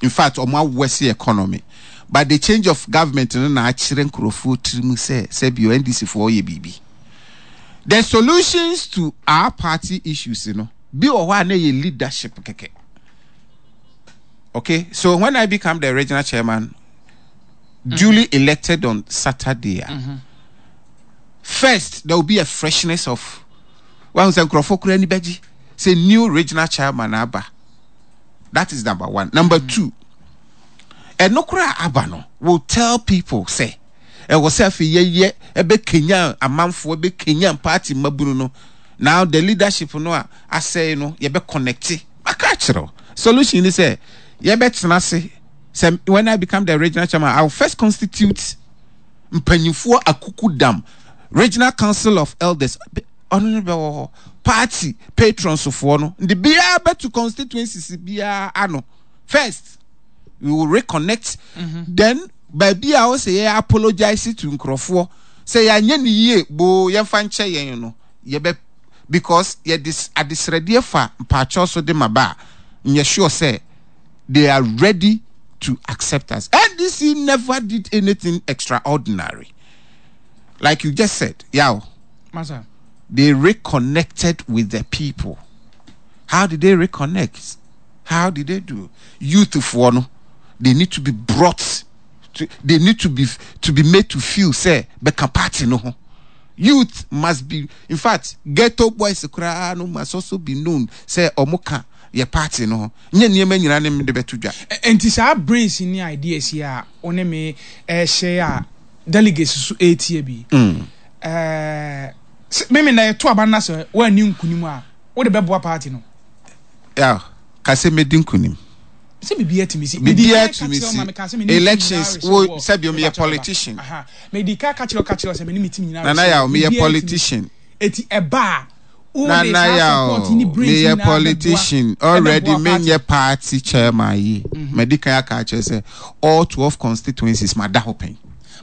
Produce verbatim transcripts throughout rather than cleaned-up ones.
In fact, ɔmo awɛse economy, but the change of government no na akyerɛ nkurɔfoɔ tirim sɛ sɛbio N D C foɔ yɛ biribi. The solutions to our party issues no bi wɔ hɔ a na yɛ leadership kɛkɛ. Okay, so when I become the regional chairman, duly elected on Saturday a, first there will be a freshness of wɔn sɛ nkurɔfoɔ kura ani bɛgye sɛ new regional chairman aba. That is number one. Number two, ɛno koraa aba no will tell people sɛ ɛwɔ sɛ afei yɛyɛ ɛbɛkenya amanfoɔ, ɛbɛkenya party mmabunu no. Now the leadership no a asɛe no, yɛbɛ connect. Maka akyerɛw, solution ni sɛ yɛbɛtena ase sɛ when I become the regional chairman, I will first constitute mpanyinfoɔ akuku dam, Regional Council of Elders. Ɔno no bɛwɔ hɔ, party patrons foɔ no nde biara bɛto constituencies biara ano. First we will reconnect mm-hmm. Then baabi a ɔsɛ yɛ apologize to nkurɔfoɔ sɛ yɛanyɛ ne yie boo, yɛmfa nkyɛ yɛn no, yɛbɛ because yɛde adesrɛdeɛ fa mpaakyɛw so de ma ba a, nyɛ sure sɛ they are ready to accept us. N D C never did anything extraordinary. Like you just said, Yao. Masa. They reconnected with the people. How did they reconnect? How did they do? Youth for no, they need to be brought to, they need to be to be made to feel sɛ bɛka party no ho. Youth must be, in fact, ghetto boys koraa no must also be known sɛ ɔmo ka yɛ party no ho. Nyɛ nneɛma nyinaa ne de bɛto dwa. Nti saa brains ne ideas yi a wo ne me ɛhyɛ a delegates so ɛretie bi, Mm. ɛɛ meme na yɛto aba no sɛ woanni nkonim a, wode bɛboa party no? Yeah, kase medi nkonim. Sɛ biribiara tumi si. Biribiara tumi si. Elections wo, sɛbi, meyɛ politician. Medi ka ka kyerɛ ka kyerɛ sɛ mene me team nyinaa. Nana Yaw, meyɛ politician. Eti ɛba a, Nana Yaw, meyɛ politician already. Menyɛ party chairman yi, madi kan aka akyerɛ sɛ all twelve constituencies mada hɔ pɛn.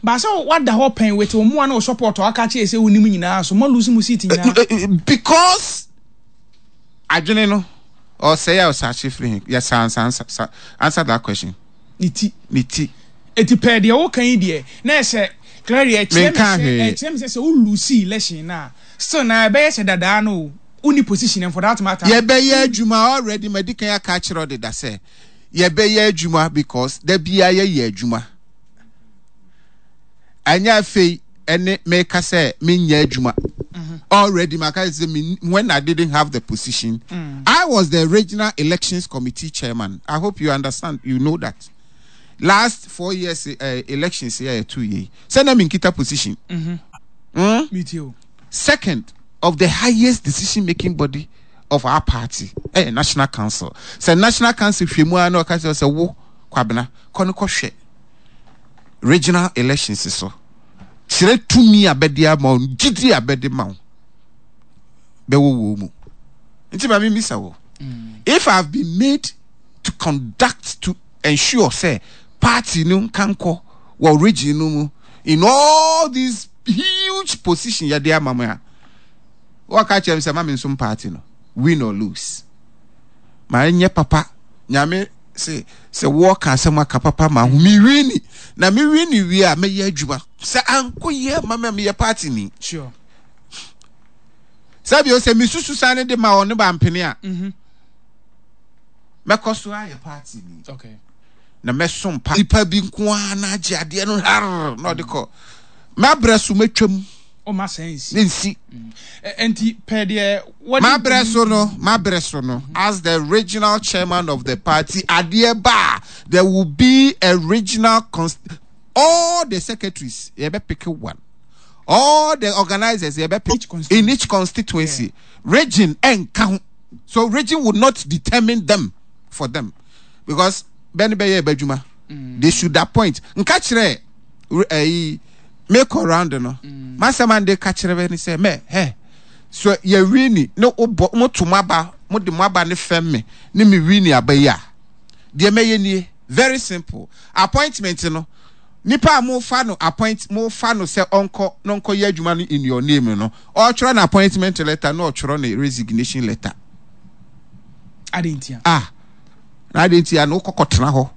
Baasa wada hɔ pɛn with wɔn mu a na o support aka kyerɛ sɛ wonim nyinaa so mo lose mu seat nyinaa. Because adwene no ɔsɛe a ɔsakye firi he? Yes, answer, answer, answer that question. Ne ti. Ne ti. Eti pɛɛ deɛ woka yi deɛ na ɛsɛ clearly ɛkyerɛ me sɛ ɛkyerɛ me sɛ sɛ wo lose election na still na ɛbɛyɛ sɛ dadaa no wonni position, and for that matter. Yɛbɛyɛ adwuma. Already madi kan aka akyerɛ ɔdeda sɛ yɛbɛyɛ adwuma because da biara yɛyɛ adwuma. Ɛnyɛ afei ɛne meka sɛ menyɛ adwuma. Already maka sɛ me, when I didn't have the position, mm. I was the Regional Elections Committee chairman. I hope you understand, you know that last four years uh, elections yɛ two years sɛ na menkita position. mm -hmm. mm? Me too. Second of the highest decision making body of our party eh, National Council. Sɛ National Council hwɛ mu a na ɔka kyerɛ sɛ wo Kwabena, kɔ no kɔhwɛ regional elections so, kyerɛ tumi a bɛde ama wo, gyidi a bɛde ma wo bɛwɔ wɔ mu. Nti ma memisa wo, if I have been made to conduct, to ensure sɛ party no nkankɔ wɔ region no mu in all these huge position yɛde ama me a, wɔka kyerɛ me sɛ ma me nsom party no, win or lose, ma ɛnyɛ papa. Nyame sɛ sɛ wɔka asɛm aka papa ma ho, me win na me win wie a, mɛyɛ adwuma. Sɛ ankɔ yie ma me a, meyɛ party ni. Sure. Sɛbi o, sɛ mesusu saa ne de ma ɔne ba mpene a, mɛkɔ so ayɛ party ni Okay. na mɛsom pa. Nipa bi nko ara na agye adeɛ no har na ɔde kɔ, mabrɛ so mɛtwam. Ɔma sɛ nsi. Ne nsi. Ɛ- nti pɛ deɛ wɔde. Mabrɛ so no, mabrɛ so no, as the regional chairman of the party, adeɛ ba a, there will be a regional const all the secretaries yɛbɛ pick one, all the organizers yɛbɛ pick Each constituency. In each constituency, region ɛnka ho. So region would not determine them for them because bɛni bɛyɛ ɛbɛ adwuma. They should appoint. Nka kyerɛ ɛyi make round no, masɛm ande ka kyerɛ bɛ ni sɛ mɛ hɛ so yɛ win ne wobɔ mo to mo aba, mo de mo aba ne fɛm me ne me win aba yi a, deɛ mɛyɛ nie, very simple. Appointment no, nipa a mo fa no appoint, mo fa no sɛ ɔnkɔ na ɔnkɔ yɛ adwuma no in your name no, ɔtwerɛ no appointment letter na ɔtwerɛ no resignation letter. Ade ntia? Ah, na ade ntia no, wokɔkɔ tena hɔ.